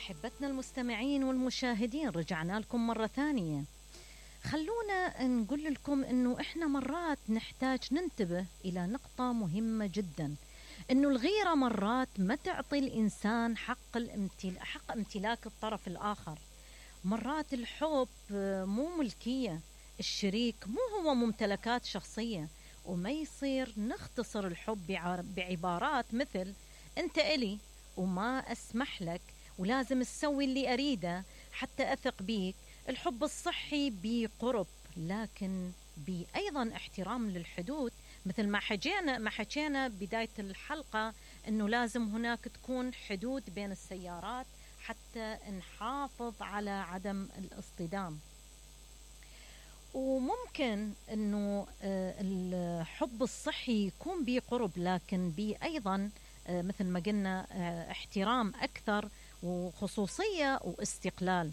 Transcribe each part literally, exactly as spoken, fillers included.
أحبتنا المستمعين والمشاهدين، رجعنا لكم مرة ثانية. خلونا نقول لكم أنه إحنا مرات نحتاج ننتبه إلى نقطة مهمة جدا، أنه الغيرة مرات ما تعطي الإنسان حق, الامتل... حق امتلاك الطرف الآخر. مرات الحب مو ملكية، الشريك مو هو ممتلكات شخصية، وما يصير نختصر الحب بعبارات مثل أنت إلي وما أسمح لك ولازم تسوي اللي أريده حتى أثق بيك. الحب الصحي بقرب، لكن بأيضا احترام للحدود، مثل ما حكينا ما حكينا بداية الحلقة أنه لازم هناك تكون حدود بين السيارات حتى نحافظ على عدم الاصطدام. وممكن أنه الحب الصحي يكون بقرب، لكن بأيضا مثل ما قلنا احترام أكثر وخصوصية واستقلال.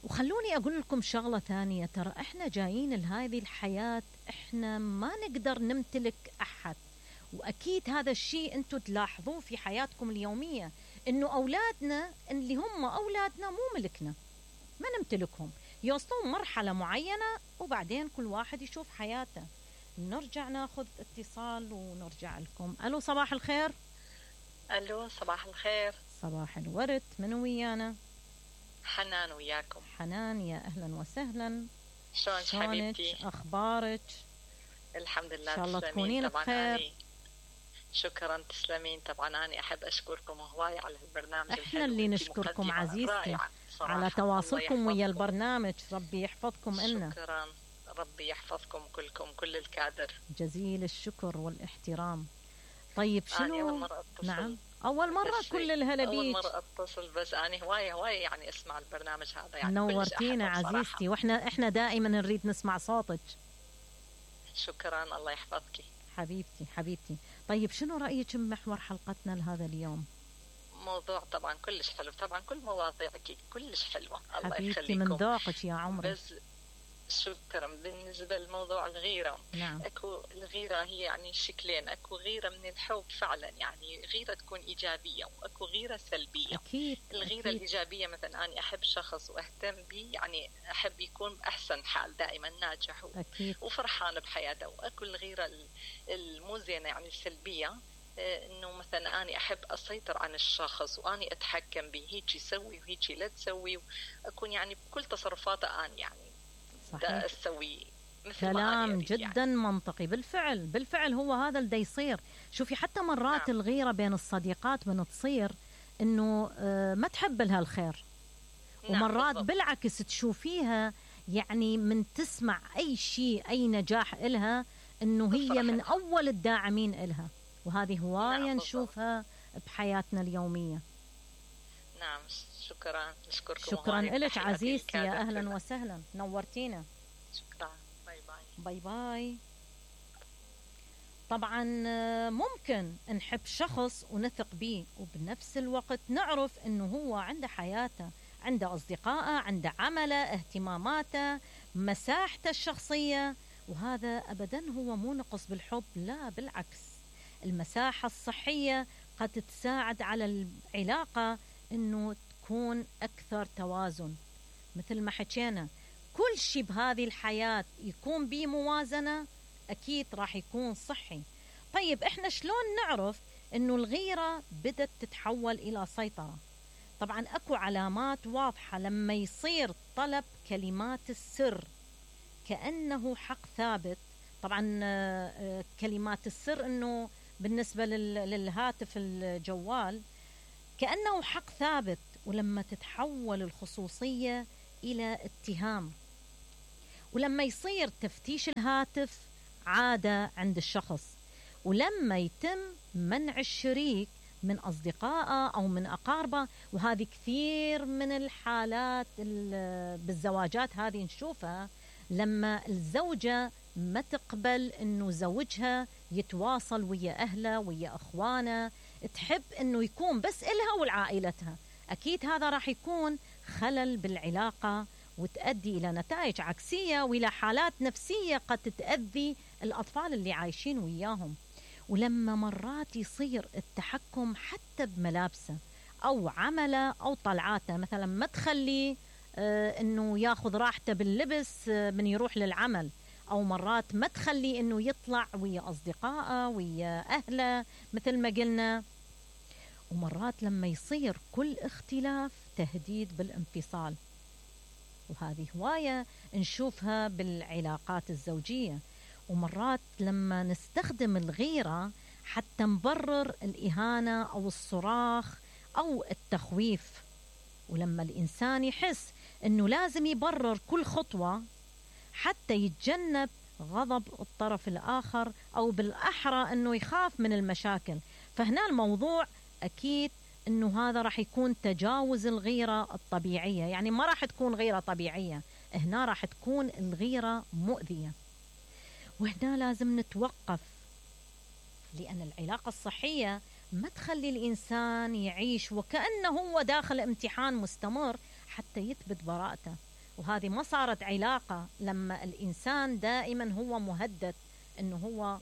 وخلوني أقول لكم شغلة ثانية، ترى إحنا جايين لهذه الحياة إحنا ما نقدر نمتلك أحد، وأكيد هذا الشيء أنتم تلاحظوه في حياتكم اليومية، إنه أولادنا اللي هم أولادنا مو ملكنا، ما نمتلكهم، يوصلون مرحلة معينة وبعدين كل واحد يشوف حياته. نرجع ناخذ اتصال ونرجع لكم. ألو، صباح الخير. ألو، صباح الخير. صباح الورد. من ويانا؟ حنان وياكم. حنان، يا أهلا وسهلا. شلونك حبيبتي؟ أخبارك؟ الحمد لله. إن شاء الله تكونين بخير. شكرا، تسلمين. طبعا أنا أحب أشكركم هواي على البرنامج. إحنا اللي نشكركم عزيزتي على تواصلكم ويا البرنامج. ربي يحفظكم لنا. شكرا، ربي يحفظكم كلكم، كل الكادر. جزيل الشكر والاحترام. طيب شنو؟ أول مرة أتصل. نعم، أول مرة. كل الهلا بيك. أول مرة أتصل، بس أنا هواي هواي يعني أسمع البرنامج هذا، يعني نورتينا عزيزتي، وإحنا إحنا دائما نريد نسمع صوتك. شكرا، الله يحفظك حبيبتي حبيبتي. طيب شنو رأيك بمحور حلقتنا لهذا اليوم؟ موضوع طبعا كلش حلو، طبعا كل مواضيعك كلش حلوة، الله حبيبتي يخليكم. من ذوقك يا عمري. بس شكرا. بالنسبة لموضوع الغيرة، نعم. أكو الغيرة هي يعني شكلين، أكو غيرة من الحب فعلا، يعني غيرة تكون إيجابية، وأكو غيرة سلبية. أكيد. الغيرة أكيد. الإيجابية مثلا أنا أحب شخص وأهتم به، يعني أحب يكون بأحسن حال، دائما ناجح أكيد. وفرحان بحياته. وأكو الغيرة المو زينة يعني السلبية، إنه مثلا أنا أحب أسيطر عن الشخص وأني أتحكم به، هيك يسوي وهيك لا تسوي، وأكون يعني بكل تصرفاته أنا يعني صحيح. أسوي مثل كلام جدا يعني. منطقي. بالفعل بالفعل هو هذا اللي يصير. شوفي حتى مرات نعم. الغيرة بين الصديقات من تصير إنه ما تحب لها الخير، نعم. ومرات بالضبط. بالعكس تشوفيها يعني من تسمع أي شيء أي نجاح إلها إنه هي من أول الداعمين إلها، وهذه هواية نعم. نشوفها بحياتنا اليومية. نعم. شكرا، نشكركم. شكرا لك عزيزتي، يا أهلا كلها. وسهلا، نورتينا. شكرا. باي باي. باي باي. طبعا ممكن نحب شخص ونثق به، وبنفس الوقت نعرف انه هو عنده حياته، عنده أصدقائه، عنده عمله، اهتماماته، مساحته الشخصية، وهذا أبدا هو مو نقص بالحب، لا بالعكس. المساحة الصحية قد تساعد على العلاقة انه تكون أكثر توازن. مثل ما حكينا، كل شيء بهذه الحياة يكون به موازنة أكيد راح يكون صحي. طيب إحنا شلون نعرف إنه الغيرة بدأت تتحول إلى سيطرة؟ طبعا أكو علامات واضحة لما يصير طلب كلمات السر كأنه حق ثابت. طبعا كلمات السر إنه بالنسبة للهاتف الجوال كأنه حق ثابت، ولما تتحول الخصوصية إلى اتهام، ولما يصير تفتيش الهاتف عادة عند الشخص، ولما يتم منع الشريك من أصدقائه أو من أقاربه. وهذه كثير من الحالات بالزواجات هذه نشوفها، لما الزوجة ما تقبل أنه زوجها يتواصل ويا أهله ويا أخوانه، تحب أنه يكون بس إلها والعائلتها، أكيد هذا راح يكون خلل بالعلاقة وتؤدي إلى نتائج عكسية وإلى حالات نفسية قد تأذي الأطفال اللي عايشين وياهم. ولما مرات يصير التحكم حتى بملابسه أو عمله أو طلعاته، مثلا ما تخليه آه أنه ياخذ راحته باللبس آه من يروح للعمل، أو مرات ما تخليه أنه يطلع ويا أصدقائه ويا أهله مثل ما قلنا. ومرات لما يصير كل اختلاف تهديد بالانفصال، وهذه هواية نشوفها بالعلاقات الزوجية. ومرات لما نستخدم الغيرة حتى نبرر الإهانة أو الصراخ أو التخويف، ولما الإنسان يحس أنه لازم يبرر كل خطوة حتى يتجنب غضب الطرف الآخر، أو بالأحرى أنه يخاف من المشاكل، فهنا الموضوع أكيد أنه هذا راح يكون تجاوز الغيرة الطبيعية، يعني ما راح تكون غيرة طبيعية، هنا راح تكون الغيرة مؤذية. وهنا لازم نتوقف، لأن العلاقة الصحية ما تخلي الإنسان يعيش وكأنه هو داخل امتحان مستمر حتى يثبت براءته. وهذه ما صارت علاقة لما الإنسان دائما هو مهدد أنه هو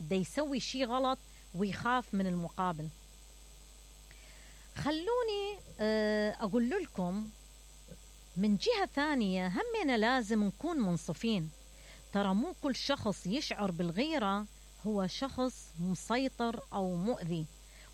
دا يسوي شيء غلط ويخاف من المقابل. خلوني أقول لكم من جهة ثانية همنا لازم نكون منصفين، ترى مو كل شخص يشعر بالغيرة هو شخص مسيطر أو مؤذي،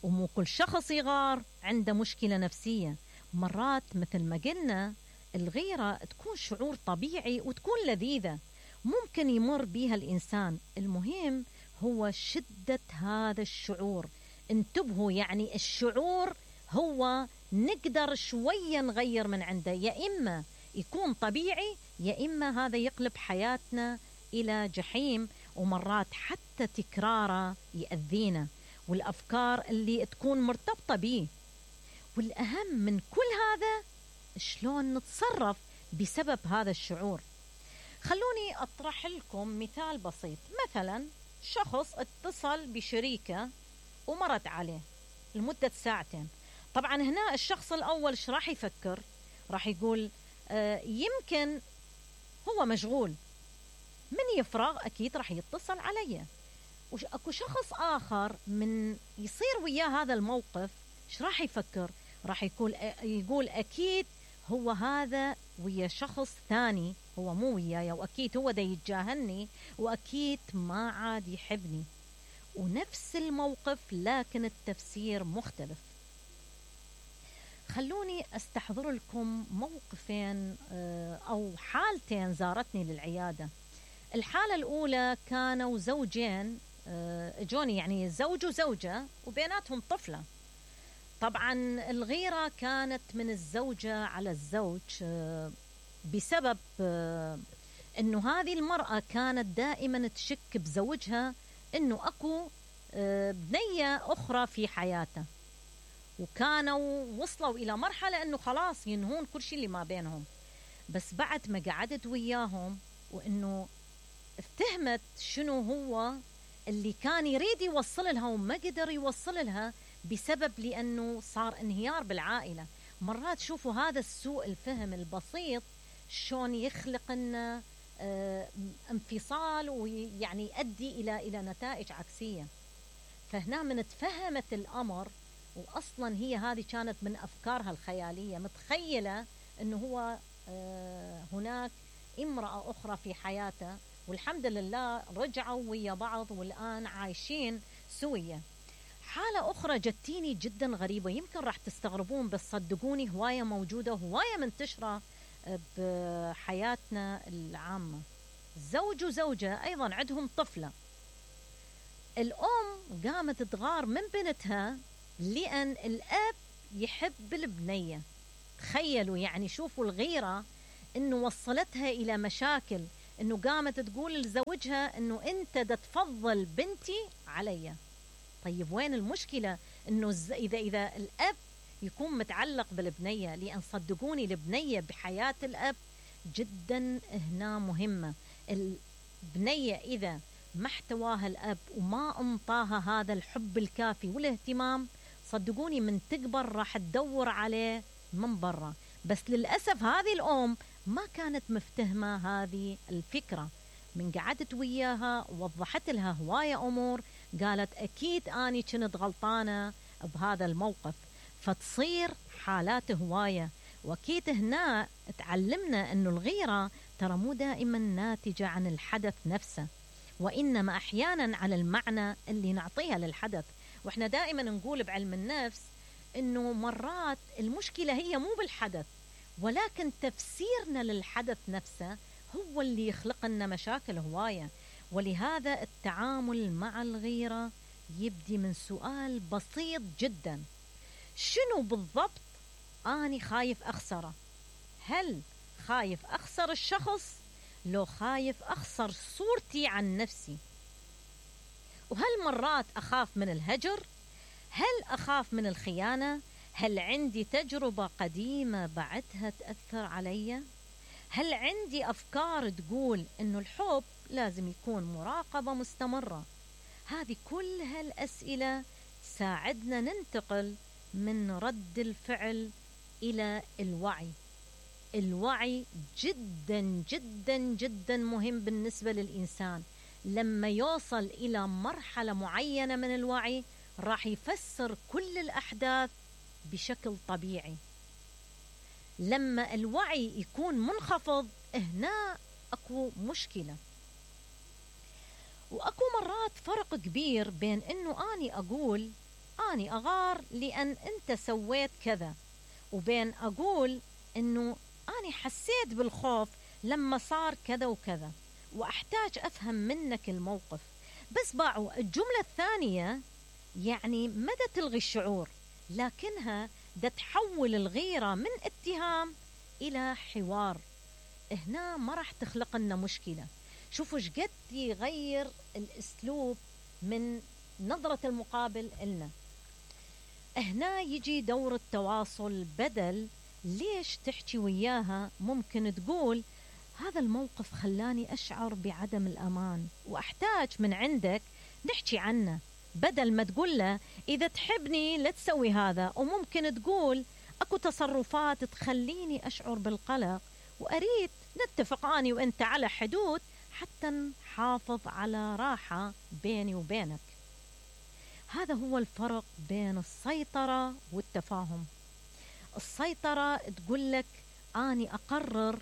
ومو كل شخص يغار عنده مشكلة نفسية. مرات مثل ما قلنا الغيرة تكون شعور طبيعي وتكون لذيذة ممكن يمر بيها الإنسان، المهم هو شدة هذا الشعور. انتبهوا، يعني الشعور هو نقدر شوية نغير من عنده، يا إما يكون طبيعي يا إما هذا يقلب حياتنا إلى جحيم، ومرات حتى تكراره يأذينا والأفكار اللي تكون مرتبطة به. والأهم من كل هذا شلون نتصرف بسبب هذا الشعور. خلوني أطرح لكم مثال بسيط. مثلا شخص اتصل بشريكه ومرت عليه لمدة ساعتين. طبعا هنا الشخص الأول ايش راح يفكر؟ راح يقول آه يمكن هو مشغول، من يفرغ أكيد راح يتصل علي. وأكو شخص آخر من يصير وياه هذا الموقف ايش راح يفكر؟ راح يقول يقول أكيد هو هذا ويا شخص ثاني، هو مو وياي، وأكيد هو دا يتجاهلني، وأكيد ما عاد يحبني. ونفس الموقف لكن التفسير مختلف. خلوني أستحضر لكم موقفين أو حالتين زارتني للعيادة. الحالة الأولى كانوا زوجين جوني، يعني زوج وزوجة وبيناتهم طفلة. طبعا الغيرة كانت من الزوجة على الزوج بسبب أنه هذه المرأة كانت دائما تشك بزوجها أنه أكو بنية أخرى في حياته، وكانوا وصلوا إلى مرحلة أنه خلاص ينهون كل شيء اللي ما بينهم. بس بعد ما قعدت وياهم وأنه افتهمت شنو هو اللي كان يريد يوصل لها وما قدر يوصل لها بسبب لأنه صار انهيار بالعائلة. مرات شوفوا هذا السوء الفهم البسيط شلون يخلق لنا اه انفصال، ويعني يؤدي إلى إلى نتائج عكسية. فهنا من تفهمت الأمر، وأصلا هي هذه كانت من أفكارها الخيالية، متخيلة أنه هو اه هناك امرأة أخرى في حياته، والحمد لله رجعوا ويا بعض والآن عايشين سوية. حالة أخرى جتيني جدا غريبة، يمكن راح تستغربون بس صدقوني هواية موجودة، هواية منتشرة بحياتنا العامة. زوج وزوجة أيضا عندهم طفلة، الأم قامت تغار من بنتها لأن الأب يحب البنية. تخيلوا، يعني شوفوا الغيرة إنه وصلتها إلى مشاكل، إنه قامت تقول لزوجها إنه أنت دا تفضل بنتي علي. طيب وين المشكلة؟ إنه إذا إذا الأب يكون متعلق بالبنية، لأن صدقوني البنية بحياة الأب جدا هنا مهمة. البنية إذا ما احتواها الأب وما انطاها هذا الحب الكافي والاهتمام، صدقوني من تكبر راح تدور عليه من برا. بس للأسف هذه الأم ما كانت مفتهمة هذه الفكرة. من قعدت وياها ووضحت لها هواية أمور، قالت أكيد أني كنت غلطانة بهذا الموقف. فتصير حالات هواية. وأكيد هنا تعلمنا أنه الغيرة ترى مو دائما ناتجة عن الحدث نفسه، وإنما أحيانا على المعنى اللي نعطيها للحدث. وإحنا دائما نقول بعلم النفس أنه مرات المشكلة هي مو بالحدث، ولكن تفسيرنا للحدث نفسه هو اللي يخلق لنا مشاكل هواية. ولهذا التعامل مع الغيرة يبدي من سؤال بسيط جدا: شنو بالضبط أنا خايف أخسره؟ هل خايف أخسر الشخص؟ لو خايف أخسر صورتي عن نفسي؟ وهل مرات أخاف من الهجر؟ هل أخاف من الخيانة؟ هل عندي تجربة قديمة بعدها تأثر علي؟ هل عندي أفكار تقول إنه الحب لازم يكون مراقبة مستمرة؟ هذه كل هالأسئلة تساعدنا ننتقل من رد الفعل إلى الوعي. الوعي جدا جدا جدا مهم بالنسبة للإنسان. لما يوصل إلى مرحلة معينة من الوعي راح يفسر كل الأحداث بشكل طبيعي. لما الوعي يكون منخفض هنا أكو مشكلة. وأكو مرات فرق كبير بين أنه أني أقول أني أغار لأن أنت سويت كذا، وبين أقول أنه أني حسيت بالخوف لما صار كذا وكذا وأحتاج أفهم منك الموقف. بس باعوا الجملة الثانية يعني مدى تلغي الشعور، لكنها دا تحول الغيرة من اتهام إلى حوار. هنا ما راح تخلق لنا مشكلة. شوفوا شقد يغير الأسلوب من نظرة المقابل إلنا. هنا يجي دور التواصل. بدل ليش تحكي وياها ممكن تقول هذا الموقف خلاني أشعر بعدم الأمان وأحتاج من عندك نحكي عنه، بدل ما تقول له إذا تحبني لا تسوي هذا. وممكن تقول أكو تصرفات تخليني أشعر بالقلق وأريد نتفق أني وأنت على حدود حتى نحافظ على راحة بيني وبينك. هذا هو الفرق بين السيطرة والتفاهم. السيطرة تقول لك أني أقرر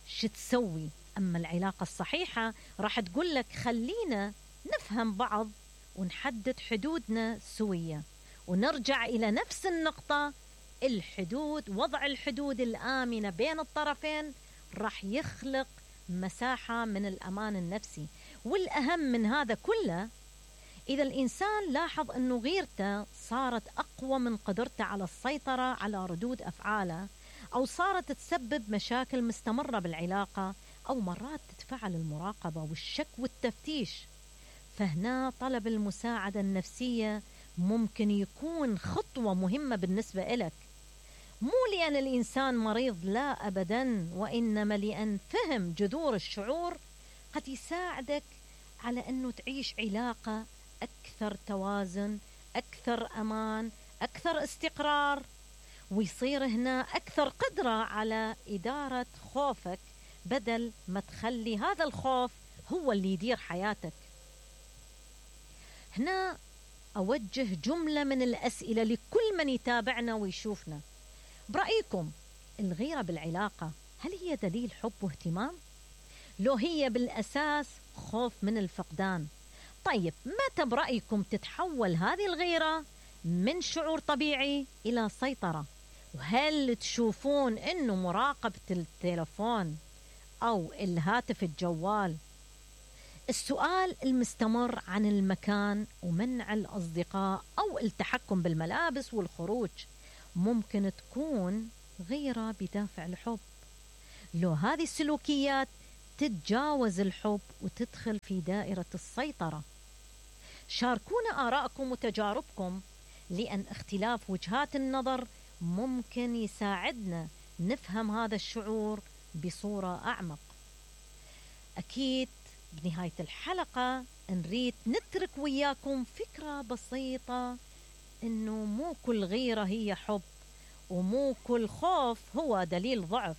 شو تسوي، أما العلاقة الصحيحة راح تقول لك خلينا نفهم بعض ونحدد حدودنا سوية ونرجع إلى نفس النقطة. الحدود، وضع الحدود الآمنة بين الطرفين راح يخلق مساحة من الأمان النفسي. والأهم من هذا كله، إذا الإنسان لاحظ أنه غيرته صارت أقوى من قدرته على السيطرة على ردود أفعاله، أو صارت تسبب مشاكل مستمرة بالعلاقة، أو مرات تدفع المراقبة والشك والتفتيش، فهنا طلب المساعدة النفسية ممكن يكون خطوة مهمة بالنسبة إلك. مو لأن الإنسان مريض، لا أبدا، وإنما لأن فهم جذور الشعور قد يساعدك على أنه تعيش علاقة أكثر توازن، أكثر أمان، أكثر استقرار، ويصير هنا أكثر قدرة على إدارة خوفك بدل ما تخلي هذا الخوف هو اللي يدير حياتك. هنا أوجه جملة من الأسئلة لكل من يتابعنا ويشوفنا. برأيكم الغيرة بالعلاقة هل هي دليل حب واهتمام؟ لو هي بالأساس خوف من الفقدان، طيب متى برأيكم تتحول هذه الغيرة من شعور طبيعي إلى سيطرة؟ وهل تشوفون أنه مراقبة التلفون أو الهاتف الجوال، السؤال المستمر عن المكان ومنع الأصدقاء أو التحكم بالملابس والخروج ممكن تكون غيرة بدافع الحب؟ لو هذه السلوكيات تتجاوز الحب وتدخل في دائرة السيطرة. شاركونا آراءكم وتجاربكم، لأن اختلاف وجهات النظر ممكن يساعدنا نفهم هذا الشعور بصورة أعمق. أكيد بنهاية الحلقة نريد نترك وياكم فكرة بسيطة، إنه مو كل غيرة هي حب، ومو كل خوف هو دليل ضعف.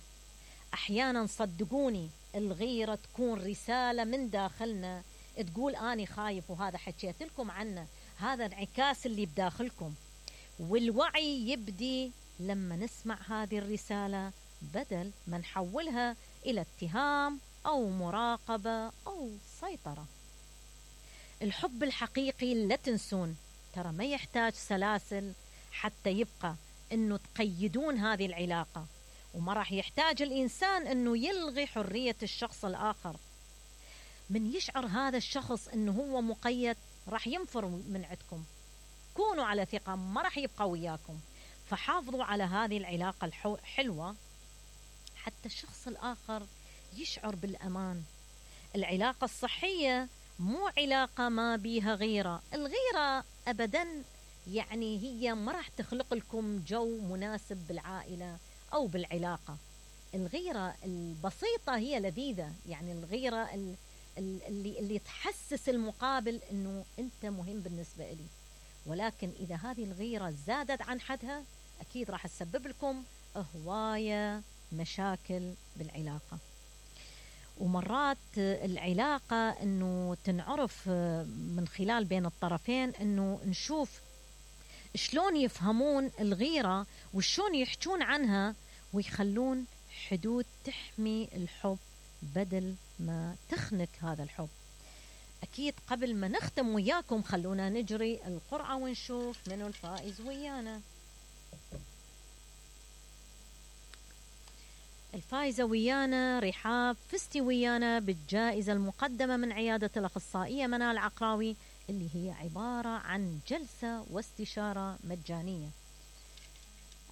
أحيانا صدقوني الغيرة تكون رسالة من داخلنا تقول أني خايف، وهذا حكيت لكم عنه، هذا انعكاس اللي بداخلكم. والوعي يبدي لما نسمع هذه الرسالة، بدل ما نحولها إلى اتهام أو مراقبة أو سيطرة. الحب الحقيقي لا تنسون ترى ما يحتاج سلاسل حتى يبقى أنه تقيدون هذه العلاقة، وما راح يحتاج الإنسان أنه يلغي حرية الشخص الآخر. من يشعر هذا الشخص أنه هو مقيد راح ينفر من عندكم. كونوا على ثقة ما راح يبقى وياكم، فحافظوا على هذه العلاقة الحلوة حتى الشخص الآخر يشعر بالأمان. العلاقة الصحية مو علاقة ما بيها غيرة. الغيرة أبداً يعني هي ما راح تخلق لكم جو مناسب بالعائلة أو بالعلاقة. الغيرة البسيطة هي لذيذة، يعني الغيرة اللي, اللي تحسس المقابل أنه أنت مهم بالنسبة لي. ولكن إذا هذه الغيرة زادت عن حدها أكيد راح تسبب لكم هواية مشاكل بالعلاقة. ومرات العلاقة أنه تنعرف من خلال بين الطرفين، أنه نشوف شلون يفهمون الغيرة وشلون يحجون عنها ويخلون حدود تحمي الحب بدل ما تخنق هذا الحب. أكيد قبل ما نختم وياكم خلونا نجري القرعة ونشوف منو الفائز ويانا. الفائزة ويانا رحاب، فزتي ويانا بالجائزة المقدمة من عيادة الأخصائية منال عقراوي، اللي هي عبارة عن جلسة واستشارة مجانية.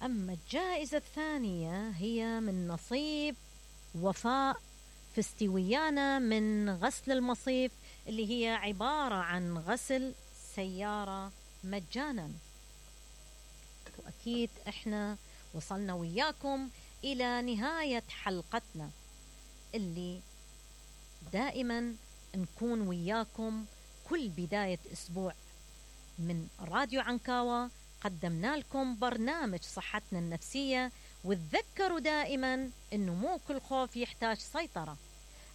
أما الجائزة الثانية هي من نصيب وفاء، فزتي ويانا من غسل المصيف، اللي هي عبارة عن غسل سيارة مجانا. وأكيد إحنا وصلنا وياكم إلى نهاية حلقتنا، اللي دائما نكون وياكم كل بداية أسبوع من راديو عنكاوة. قدمنا لكم برنامج صحتنا النفسية، وتذكروا دائما أنه مو كل خوف يحتاج سيطرة،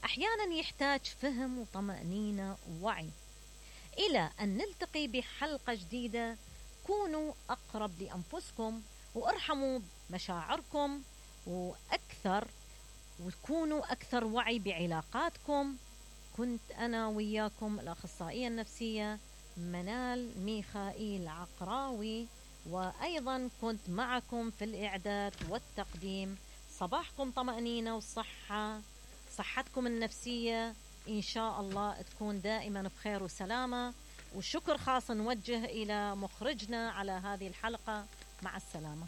أحيانا يحتاج فهم وطمأنينة ووعي. إلى أن نلتقي بحلقة جديدة، كونوا أقرب لأنفسكم وارحموا مشاعركم وأكثر، وكونوا أكثر وعي بعلاقاتكم. كنت أنا وياكم الأخصائية النفسية منال ميخائيل عقراوي، وأيضا كنت معكم في الإعداد والتقديم. صباحكم طمأنينة وصحة، صحتكم النفسية إن شاء الله تكون دائما بخير وسلامة. وشكر خاص نوجه إلى مخرجنا على هذه الحلقة. مع السلامة.